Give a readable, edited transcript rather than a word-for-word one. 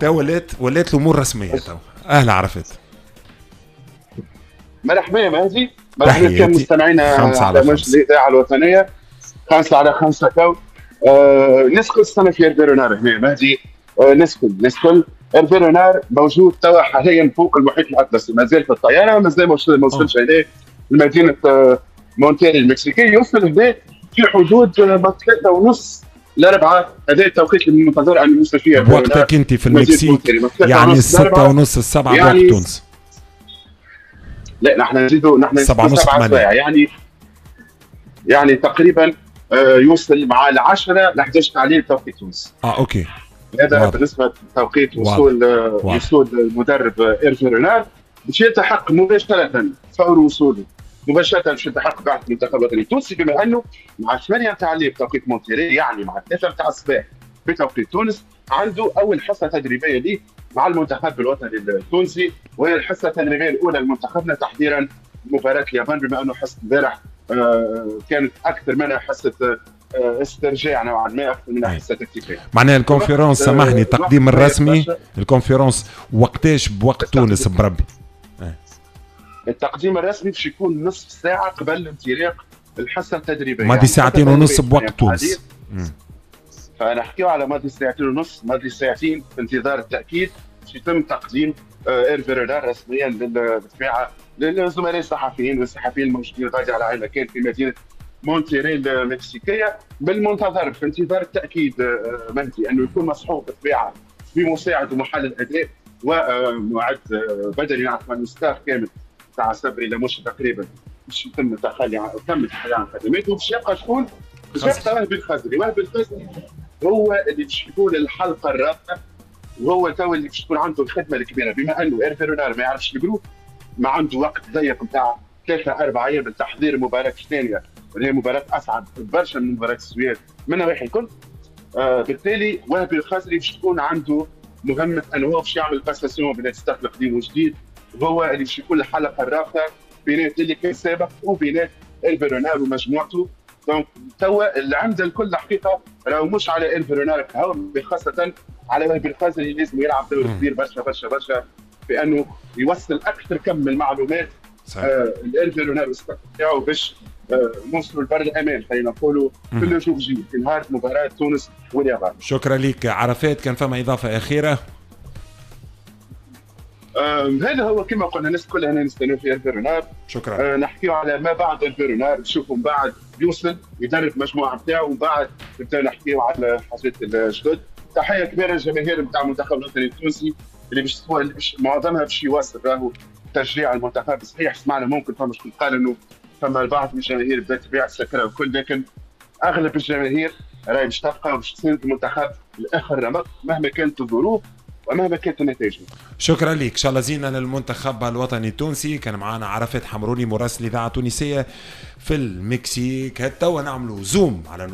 تو ولات الامور رسمية تو. اهلا عرفات. مرحبا يا مهدي، مرحبا بكم مستمعينا على موجة الاذاعة الوطنية 5 على 5. تو نسكن السنة في إيرفي رونار هنا مهدي، نسكن إيرفي رونار موجود توا حاليا فوق المحيط الاطلسي، مازال في الطياره، مازال ما وصلش هنا لمدينة مونتيري المكسيكيه. يوصل هنا في حدود 3:30 ل4، هذا التوقيت المنتظر ان يوصل فيه. وقتك انت في المكسيك يعني 6:30 7 يعني بوقت تونس. لا، نحن نزيدوا، نحن 7:30. 7 سوايع، يعني تقريبا يوصل مع 10 ل 11 تاع الليل توقيت تونس. اه OK. هذا بالنسبة لتوقيت وصول المدرب ايرفي رونار. باش يلتحق مباشرة فور وصوله، مباشرة باش يلتحق بعثه المنتخب الوطني التونسي، بما انه مع 8 تاع الليل بتوقيت مونتيري، يعني مع 3 تاع الصباح بتوقيت تونس، عنده اول حصة تدريبية ليه مع المنتخب الوطني التونسي، وهي الحصة التدريبية الاولى لمنتخبنا تحضيرا لمباراة اليابان، بما انه حصة البارح كانت اكثر منها حصة استرجاع نوعا ما اكثر منها حصة تكتيكيه. معناها ال conférence، سامحني، التقديم الرسمي، ال conférence وقتاش بوقت تونس بربي؟ التقديم الرسمي باش يكون نصف ساعة قبل انطلاق الحصة التدريبيه. ماضي يعني ساعتين ونص بوقت تونس. فنحكيو على ماضي ساعتين ونص، ماضي ساعتين، في انتظار التاكيد باش يتم تقديم ايرفي رونار رسميا بالطبيعة للزملاء الصحفيين والصحفيين الموجودين غادي على عين مكان في مدينة مونتيري المكسيكيه. بالمنتظر في انتظار التاكيد مهدي انه يكون مصحوب بالطبيعة بمساعد ومحلل اداء ومعد بدني. نعرف انه staff كامل تاع صبري لموشي تقريبا باش يتم التخلي عن تم التخلي عن خدماته. باش يبقى شكون؟ باش يبقى وهبي الخزري. وهبي الخزري هو اللي باش يكون الحلقة الرابطه، وهو تو اللي باش تكون عنده الخدمة الكبيره، بما انه ايرفي رونار ما يعرفش ال groupe، ما عنده وقت ضيق نتاع 3 4 ايام لتحضير المباراة الثانيه، واللي هي مباراة اصعب برشا من مباراة السويد من نواحي الكل. بالتالي وهبي الخزري باش تكون عنده مهمة انه هو باش يعمل passation بين staff القديم والجديد، وهو اللي باش يكون الحلقة الرابطة بينات اللي كان سابق وبينات إيرفي رونار ومجموعته. donc توا العمدة الكل الحقيقة راهو مش على إيرفي رونار، خاصة على وهبي الخزري اللي لازم يلعب دور كبير برشا برشا برشا في انه يوصل اكثر كم من المعلومات لإيرفي رونار وال staff بتاعه باش نوصلوا لبر الامان، خلينا نقولوا، في le jour J، في نهار مباراة تونس واليابان. شكرا لك عرفات. كان فما اضافه اخيره؟ هذا هو، كما قلنا الناس كلها هنا نستناو في إيرفي رونار. شكرا. نحكيو على ما بعد إيرفي رونار، نشوفوا من بعد يوصل يدرب المجموعة نتاعو، ومن بعد نبداو نحكيو على حاجات الجدد. تحية كبيرة للجماهير نتاع المنتخب الوطني التونسي اللي باش معظمها باش يواصل راهو تشجيع المنتخب. صحيح سمعنا ممكن فما شكون قال انه فما البعض من الجماهير بدات تبيع السكرة وكل، لكن اغلب الجماهير راهي باش تبقى وباش تساند المنتخب لاخر رمق مهما كانت الظروف ومهما كانت النتائج. شكرا لك، ان شاء الله زينة للمنتخب الوطني التونسي. كان معنا عرفات حمروني، مراسل الاذاعة التونسية في المكسيك. توا نعملوا zoom على نص